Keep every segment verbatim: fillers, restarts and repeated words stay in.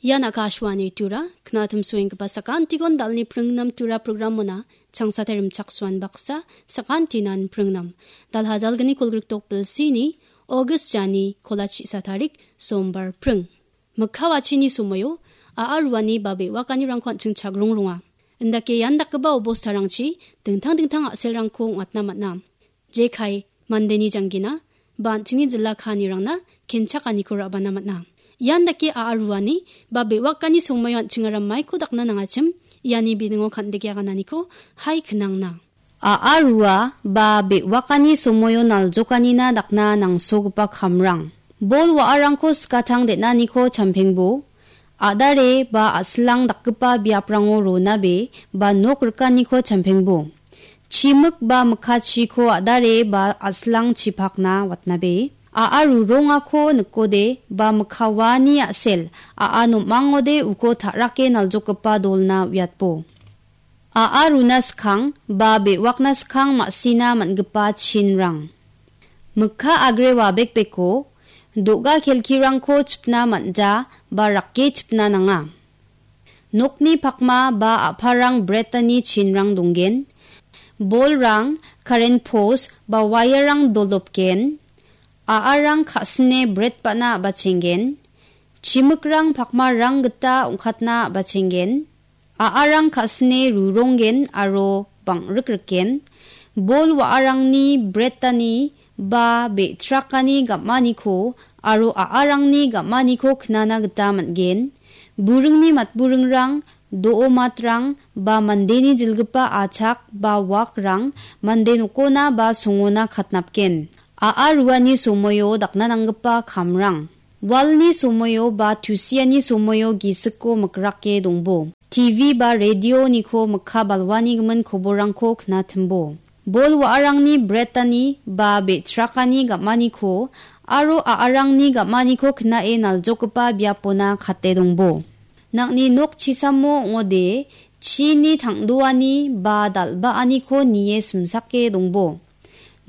Ian Akashvani Tura, knatim suenggipa sakantikon dalni pringnam Tura programmona, changsate rimchaksuan baksa, sakantinan pringnam. Dalhajalgni kolgriktok bilsini, August jani, kolachi sa tarik, sombar pring. Mikkawachini somoio, a·a ruani ba be·wakanirangko an·ching chagrongronga. Indake ian dakgipa obostarangchi dingtang dingtang a·selrangko ong·atna man·a. Jekai, mandeni janggina, ba an·chingni jila kaanirangna kenchakaniko ra·bana man·a. Ian dake a·a ruani ba be·wakani somoio an·chingara maiko dakna nangachim, iani biningo kan·deke agananiko hai knangna. A·a rua ba be·wakani somoio naljokanina dakna nangsogipa kamrang. Bol wa·arangko skatang den·aniko champengbo, a·dare ba a·silang dakgipa biaprango ronabe ba nok rikaniko champengbo. Chimik ba mikkachiko a·dare ba a·silang chipakna watnabe. A·a rurongako nikode ba mikka waani a·sel, a·a nom·angode uko ta·rake naljokgipa dolna uiatbo. A·a runa skang ba be·wakna skang ma·sina man·gipa chinrang. Mikka agre wabekbeko, do·ga kelkirangko chipna man·ja ba rake chipna nanga. Nokni pakma ba a·parang bretani chinrang donggen. Bolrang, karen pos ba wairang doldopgen. A·arang ka·sine bret ba·na a·bachenggen. Chimikrang pakmarang gita ong·katna a·bachenggen. A·arang ka·sine ruronggen aro bang·rikrikgen. Bol wa·arangni bretani ba be·trakani gam·aniko aro a·arangni gam·aniko knana gita man·gen. Buringni matburingrang, do·o matrang ba mandeni jilgipa achak ba wakrang mande nokona ba songona katnapgen. A·a ruani somoio dakna nanggipa kamrang. Walni somoio ba tusiani somoio gisiko mikrake dongbo. T V ba radioniko mikka balwani gimin koborrangko knatimbo. Bol wa·arangni bretani ba be·trakani gam·aniko aro a·arangni gam·aniko knae naljokgipa biapona kate dongbo. Nang·ni nok chisamo ong·ode chini tang·doani ba dal·baaniko nie simsake dongbo.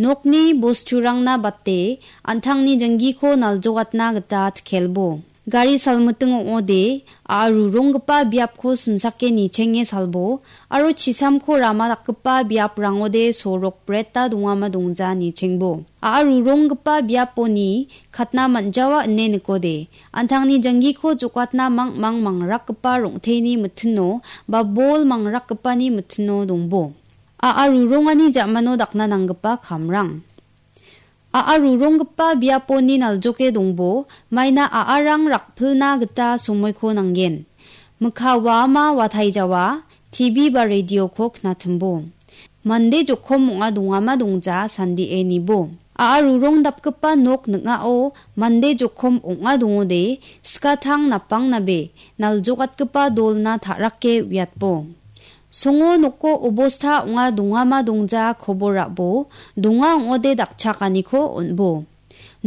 Nokni bosturangna bate an·tangni janggiko naljokatna gita tkelbo. Gari salmiting ong·ode, a·a ruronggipa biapko simsake nichenge salbo, aro chisamko rama dakgipa biaprangode sorok breta dongama dongja nichengbo. A·a ruronggipa biaponi katna man·jawa ine nikode, an·tangni janggiko jokatna mang·mang mangrakgipa rong·teni mitino ba bol mangrakgipani mitino dongbo. A·a rurongani ja·mano dakna nanggipa kamrang. A·a ruronggipa biaponi naljoke dongbo, maina a·arang rakpilna gita somoiko nanggen. Mikka waama wataijawa, T V ba radioko knatimbo. Mande jokom ong·a dongama dongja sandie nibo. A·a rurong dapgipa nok ning·ao mande jokom ong·a dongode, skatang napangnabe, naljokatgipa dolna ta·rake uiatbo. Songo noko obosta ong·a dongama dongja kobor ra·bo, donga ong·ode dakchakaniko on·bo.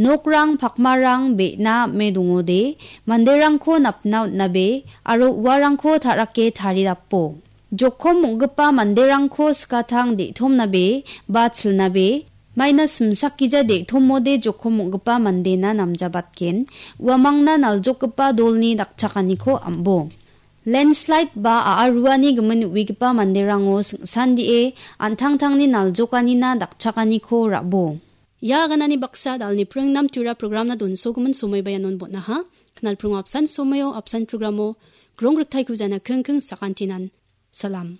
Nokrang pakmarang be·na ame dongode, manderangko napna on·nabe, aro uarangko ta·rake taridapo. Jokom ong·gipa manderangko skatang de·tomnabe, ba chilnabe, maina simsakgija de·tomode jokom ong·gipa mandena namjabatgen, uamangna naljokgipa dolni dakchakaniko am·bo. Landslide ba a·a ruani gimin uigipa manderango sing·sandie an·tangtangni naljokanina dakchakaniko ra·bo. Ia aganani baksa dalni pringnam tura programna donsogimin somoi ba ianon bon·aha. Knalpringo apsan somoio apsan programo grong riktaiko jana kingking sakantinan. Salam.